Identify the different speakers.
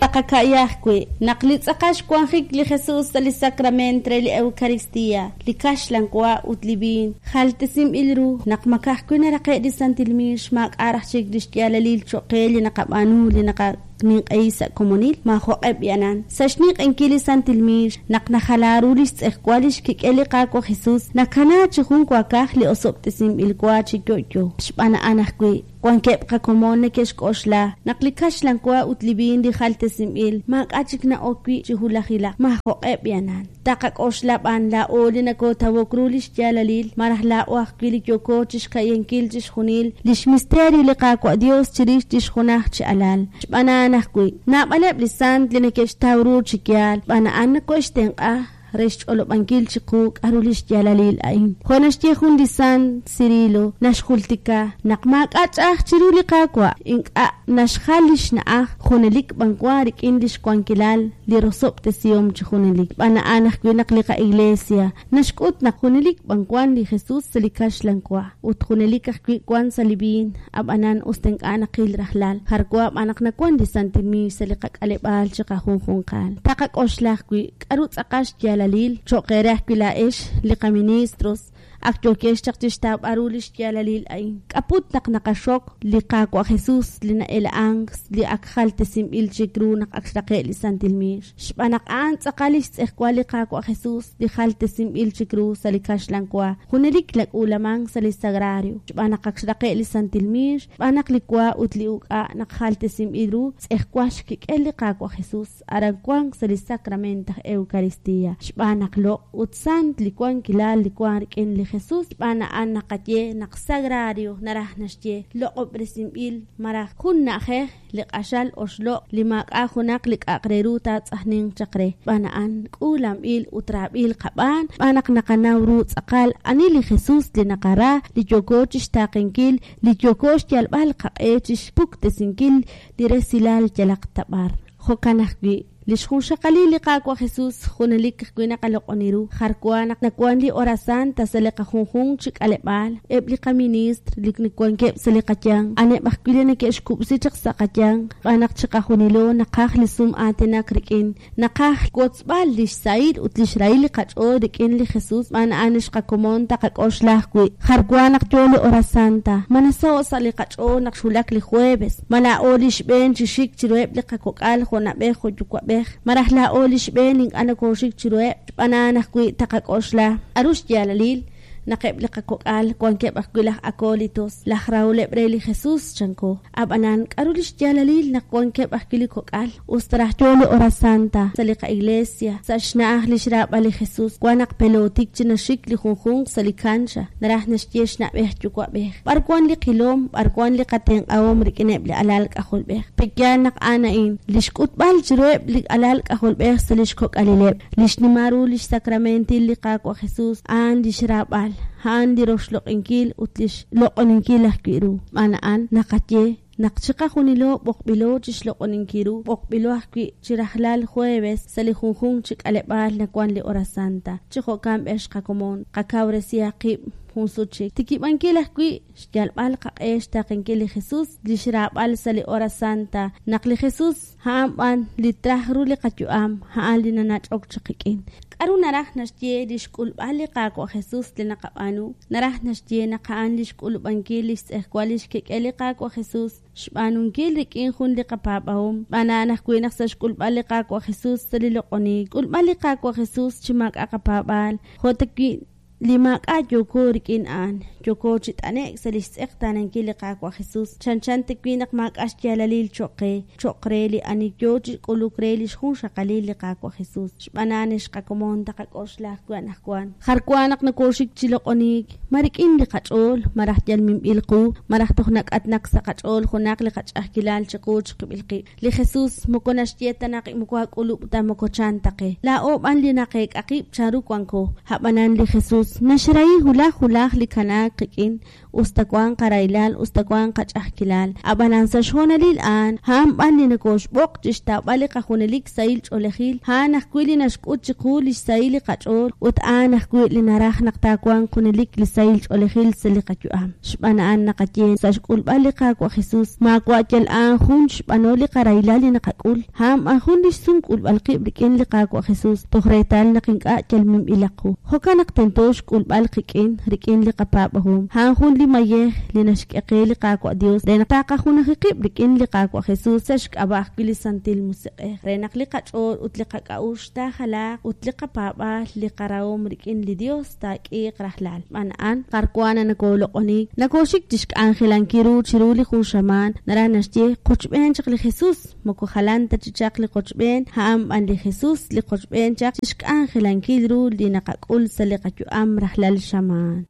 Speaker 1: Taqaka'ya ajwi' naq li tz'aqal xwanjik li Jesus sa' li sakrament re li Eukaristia, li kaxlan wa ut li viin, jaltesinb'il ru, naq ma ka'ajwi' naraqe' li santil miix, maak'a' raj chik lix yaalalil choq' qe li naqab'aanu li naqaninq'ehi sa' komonil? Maajo'q'e b'i'anan. Sa' xninq'ehinkil li santil miix, naq najala ru lix tz'ejwal lix kik'el li Qaawa' Jesus, nakana chi jun waakaj li osob'tesinb'il wa chi yo'yo. Xb'aan a'an ajwi', Wankeb' qakomon neke'xk'oxla naq li kaxlan wa ut li viin li jaltesinb'il maak'a' chik na'ok wi' chi hulajilaq. Maajo'q'e b'i'anan. Taqak'oxla b'an laa'o li nokootawok ru lix yaalalil, malaj laa'o ajwi' li yooko chixka'yankil chixjunil lix misterio li Qaawa' Dios chirix lix junaj chi Alal. Xb'aan a'an ajwi', naab'aleb' li sant li neke'xtaw ru chi yaal, xb'aan a'an nokohe'xtenq'a re xch'olob'ankil chiqu k'a'ru lix yaalalil a'in. Jo' naxye jun li sant, Cirilo, naxjultika naq maak'a' ch'a'aj chiru li Qaawa', ink'a' naxjal lix na'aj, junelik b'an wan rik'in lix wankilal li rosob'tesihom chi junelik. Xb'aan a'an ajwi' naq li qaIglesia naxk'ut naq junelik b'an wan li Jesus sa' li kaxlan wa, ut junelik ajwi' wan sa' li viin, a'b'anan us ta ink'a' naqil rajlal, jar wa b'an naq nawan li santil miix sa' li qak'aleb'aal chiqajunjunqal. Taqak'oxla ajwi' K'aru tz'aqal xyaalalil? Cho'q eere ajwi' laa'ex, li qaministros, ak yookex chaq chi xtawb'al ru li xyaalalil a'in. K'a'put naq naqaxok li Qaawa' Jesus li na'ela'ank li ak jaltesinb'il chik ru naq ak xraqe' li santil miix? Xb'aan naq a'an tz'aqal li xtz'ejwal li Qaawa' Jesus li jaltesinb'il chik ru sa' li kaxlan wa, junelik nak'uulamank sa' li sagrario. Xb'aan naq ak xraqe' li santil miix, xb'aan naq li wa ut li uk'a' naq jaltesinb'il ru, tz'ejwal xkik'el li Qaawa' Jesus. Aran wank sa' li sakrament aj Eukaristía. Xb'aan naq loq' ut sant li wankilal li wank rik'in li Jesus, xb'aan a'an naqaye naq sagrario naraj naxye loq'ob'resinb'il malaj jun na'ajej li q'axal oxloq' li maak'a' junaq li k'a'aq re ru taatz'ajninq chaq re. Xb'aan a'an k'uulanb'il ut raab'il qab'aan xb'aan naq naqanaw ru tz'aqal ani li Jesus li naqara, li yooko chixtaaqenkil, li yooko xyalb'al qaq'e chixpuktesinkil li resilal yalaq ta b'ar. Jo'kan ajwi', li xjunxaqalil li Qaawa' Jesus junelik ajwi' naqaloq'oni ru. Jar wa naq nawank li Hora Santa sa' li qajunjunq chi k'aleb'aal, eb' li qaministr li wankeb' sa' li qayanq, a'aneb' ajwi' li neke'xkub'si chaq sa' qayanq, xb'aan naq chiqajunilo naqaj li sum aatinak rik'in, naqaj xwotzb'al lix sahil ut lix rahil li qach'ool rik'in li Jesus, xb'aan a'an lix qakomon taqak'oxla ajwi'. Jar wa naq yoo li Hora Santa, ma nasaho' sa' li qach'ool naq xwulak li jueves, Ma laa'o li xb'een chi xik chiruheb' li qakok'al jo' na'b'ej jo' yuwa'b'ej, malaj laa'o li xb'een li ink'a' nokooxik chiruheb'? Xb'aan a'an ajwi' taqak'oxla k'a'ru xyaalalil naq eb' li qakok'al wankeb' ajwi' laj acólitos, laj raholeb' re li Jesus, chanko. A'b'anan, k'a'ru lix yaalalil naq wankeb' ajwi' li kok'al, us ta raj yoo li hora santa sa' li qa'iglesia, sa' xna'aj lix raab'al li Jesus, wan naq pelootik chi naxik li junjunq sa' li cancha, naraj naxye xna'b'ej yuwa'b'ej. B'ar wan li qilom, b'ar wan li qatenq'ahom rik'ineb' li alal k'ajolb'ej? Pe'yaal naq a'an a'in, li xk'utb'al chiruheb' li alal k'ajolb'ej sa' lix kok'alileb', li xnimal ru lix sakramentil li Qaawa' Jesus, a'an lix raab'al, a'an li roxloq'inkil ut lix loq'oninkil ajwi' ru. Xb'aan a'an, naqaye naq chiqajunilo b'oqb'ilo chixloq'oninkil ru, b'oqb'ilo ajwi' chi rajlal jueves sa' li junjunq chi k'aleb'aal nawan li hora santa. Chi jo'kan b'ex qakomon, qakawresihaq qib' jun sut chik. Xtikib'ankil ajwi' xyalb'al qaq'e xtaaqenkil li Jesus, lix raab'al sa' li hora santa, naq li Jesus a'an b'an li traj ru li qayu'am, a'an li nanach'ok chaq qik'in. K'a'ru naraj naxye li xk'ulb'al li Qaawa' Jesus li naqab'aanu? Naraj naxye naq a'an li xk'ulub'ankil lix tz'ejwal lix kik'el li Qaawa' Jesus, xb'aanunkil rik'in jun li qapaab'ahom. Xb'aan a'an ajwi' naq sa' xk'ulb'al li Qaawa' Jesus sa' li loq'oniik, xk'ulb'al li Qaawa' Jesus chi maak'a' qapaab'aal, jo' ta wi' li maak'a' yooko rik'in a'an, yooko chi t'ane'k sa' lix tz'eqtaanankil li Qaawa' Jesus, chanchan ta wi' naq maak'a' xyaalalil choq' qe, choq' re li ani yoo chi k'uluk re lix junxaqalil li Qaawa' Jesus. Xb'aan a'an ex qakomon taqak'oxla ajwi' anajwan. Jar wa naq nokooxik chi loq'oniik, ma rik'in li qach'ool, malaj yal minb'il qu, malaj toj nak'atnak sa' qach'ool junaq li qach'a'ajkilal chiqu chiqib'il qib'. Li Jesus moko naxye ta naq moko aak'ulub' ta moko chan ta qe. Laa'o b'an li naqeek'a qib' chanru wanko. A'b'anan li Jesus. Jesus naxrahi hulaj hulaj li kanaak qik'in, us ta wank qarahilal, us ta wank qach'a'ajkilal. Ab'anan sa' xhoonalil a'an, a'an b'an li nokooxb'oq chi xtawb'al li qajunelik sahil ch'oolejil, a'an ajwi' li naxk'ut chiqu li xsahil li qach'ool ut a'an ajwi' li naraj naq taawanq junelik li sahil ch'oolejil sa' li qayu'am. Xb'aan a'an naqaye sa' xk'ulb'al li Qaawa' Jesus, maawa' yal a'an jun xb'anol li qarahilal li naqak'ul, a'an b'an jun li xsum k'ulb'al qib' rik'in li Qaawa' Jesus, toj reetal naq ink'a' yal minb'ilaq qu. Jo'kan naq tento xk'ulb'al qik'in, rik'in li qapaab'ahom. A'an jun li mayej li naxk'e qe li Qaawa' Dios re naq taqajunaji qib' rik'in li Qaawa' Jesus sa' xk'ab'a' ajwi' li Santil Musiq'ej, re naq li qach'ool ut li qak'a'uxl taajalaaq ut li qapaab'aal, li qarahom rik'in li Dios taak'iiq rajlal. Xb'aan a'an, b'ar wan nakoloq'onink, nakoxik chixk'anjelankil ru chiru li jun xamaan, naraj naxye qochb'een chaq li Jesus, moko jalan ta chi chaq li qochb'een, a'an b'an li Jesus li qochb'een chaq chixk'anjelankil ru li naqak'ul sa' li qayu'am rajlal xamaan.